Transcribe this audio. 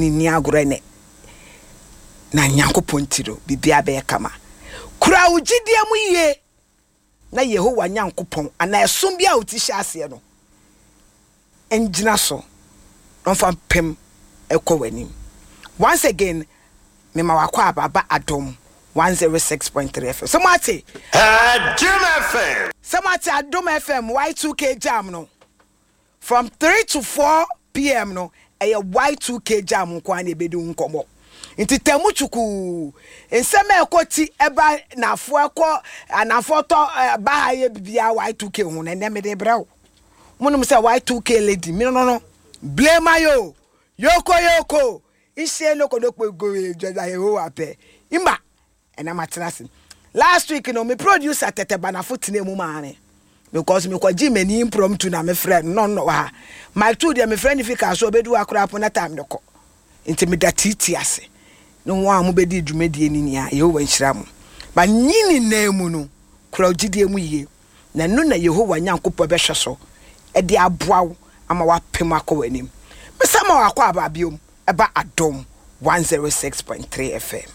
Ne nni agorɔ ɛnɛ. Na Nyankopɔn nti no, biribiara bɛyɛ kama. Kura wo gyidie mu yie na Yehowa Nyankopɔn anaa ɛsom bi a wo ti hyɛ aseɛ no ngyina so na ɔmfa mpem ɛkɔ w'anim. Once again, mema w'akwaaba aba Adom 106.3 FM. Sɛ moate? Adom FM. Sɛ moate Adom FM Y2K Jam no? From 3 to 4 PM no, ɛyɛ Y2K Jam nko ara na yɛbɛdi ho nkɔmmɔ. Nti tamu kyukuu, nsɛm a ɛkɔ ti ɛba nafoɔ ɛkɔ anafoɔ tɔ ba ha yɛ bibiara Y2K ho no, ɛnɛ mede brɛ wo. Monim sɛ Y2K lady, me no no, blame ayo, yoko yoko, nhyɛ no kodokpo goe dwada Yehowa pɛ. Imba, Ɛna matena ase. Last week no, me producer Tɛtɛ Banafo tenaa mu maa me because mekɔgyee m'ani impromptu na mefrɛ no, na ɔno na ɔwɔ ha. Mike too deɛ mefrɛ no fi kaa so ɔbɛdu ha koraa po na time no kɔ. Nti meda tiitii ase ne wɔn a wɔbɛdii dwumadie no nyinaa. Yehowa nhyira mo. But ne nyinaa mu no, kura wo gyidie mu yie, na ɛno na Yehowa Nyankopɔn bɛhwɛ so de aboa wo ama woapem akɔ w'anim. Mesan ma wakɔ aba biom, ɛba Adom 106.3 FM.